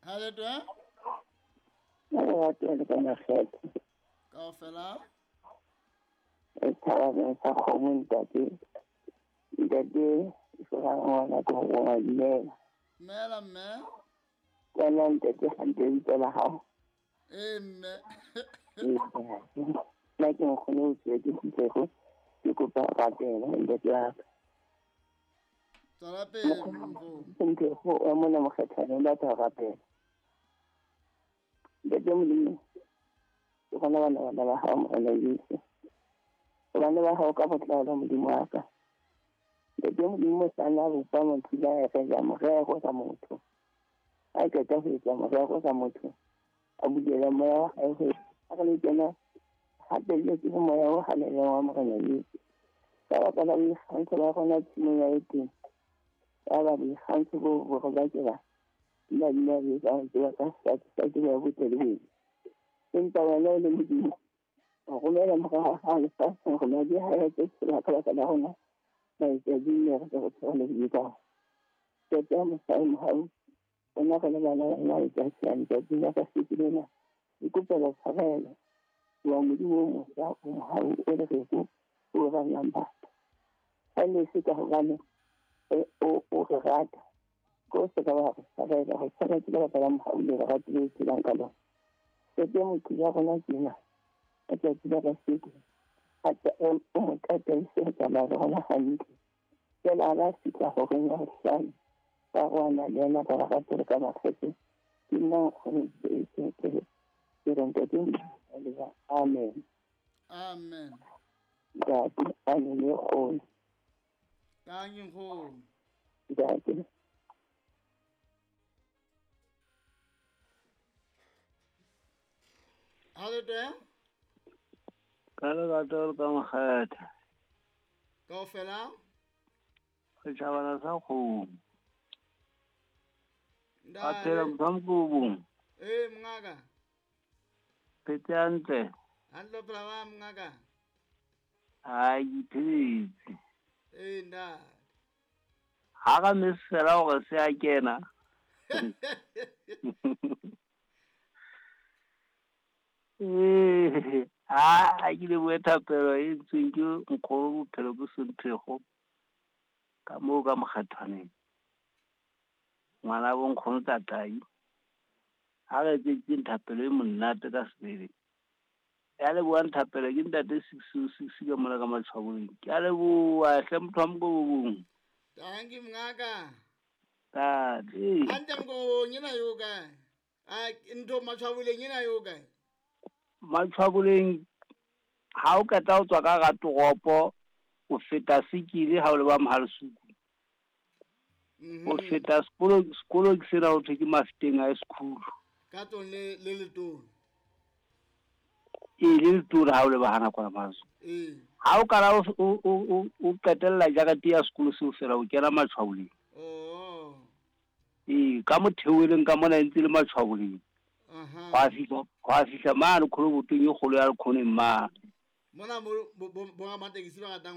Ha le twe? Ka lerato le ka makgetho. Kaofela? E thabang sa kgomo ntate. Ntate, Sorang ngwana ke ho roma dumela. Dumela mme. Kwana ntate hantle lebitso la hao. Ee mme. Nna ke nkgono o tswe ke kgutlego. Ke kopa rapelo ntate wa ka. Tswela pele nkgono. Nthego wa mona mokgethwane o batla ho rapela. Ntate Modimo, ke gona bana ba hao Morena Jesu. Bana ba hao ka botlalo Modimo wa ka. Ntate Modimo sana bopa motho la re ja morero ka motho. A qeta ho etsa morero ka motho. A bulela moya wa hae ho a re le kena hape le ke moya o halalelang wa Morena Jesu. Ka baka la boikgantsho ba rona tshimong ya Edene. Ya ba boikgantsho bo bo re bakela nna nna re ka tseba ka sa tseba botle le bobe. Empa wena o le Modimo, o romela mora wa hao lefatsheng hore madi a hae a tlo tshollwa ka baka la rona maetsadibe mme re tle re thole bobe. Ntate wa mosa o mohau, rona re le bana ba rona letsatsi la letsatsi la kasheko lena, re kopela tshwarelo. Wa Modimo o mosa o mohau o lereko o ratang batho. Ha ne se ka hobane o re rata, ko se ka wa re tshwarela, re tshwaretse ka baka la mohau le lerato le phelang ka lona. Ntate motho ya rona tjena, ka tsatsi la kasheko, o mo tataise ho tsamaya le rona hantle. Jwale ha ba fihla horeng ya bohlano, ba roana le yena ka lerato le ka makgethe. Ke nna nkgono ke re ntate Modimo, amen. Amen. Ntate, amen e kgolo. Tanki nkgono. Ntate. Ha le teng? Ka lerato le ka makgethe. Kaofela? Setjhabana sa kgomo. A phela motho wa Mokobong. Ee mongaka. Phetse hantle. Hantle phela wa mongaka. Ha ke phetse. Ee ntate. Ha ra mesela hore se a kena. Ee, ha ke lebohe thapelo e ntsweng ke nkgono bophelo bo Sonthego ka moo ka mokgethwaneng. Ngwana bo nkgono Tatai. Ha re etseditseng thapelo e monate ka sebele. Ya lebohang thapelo ke ntate 606 ka mona ka Matshwaboleng. Ke a leboha hle motho wa Mokobong. Tanki mongaka. Tate. Hantle Mokobong ena yo kae? A ntho Matshwaboleng ena yo kae? Matshwaboleng ha o qeta ho tswa ka hara toropo, o feta Sekile ha o leba Mohalesuku. O feta sekolo ke sena ho thwe ke Mafeteng High School. Ka tsong le letona. Ee, le letona ha o leba hana kwana Maso. Ee. Ha o kala o qetella jarete ya sekolo seo fela o kena Matshwaboleng. Oh. Ee, ka motheoweleng ka mona e ntse le Matshwaboleng. Hwa fihla mane kgolobotong e kgolo ya Lekgoneng mane. Mona mo bo ramatekesi ba ratang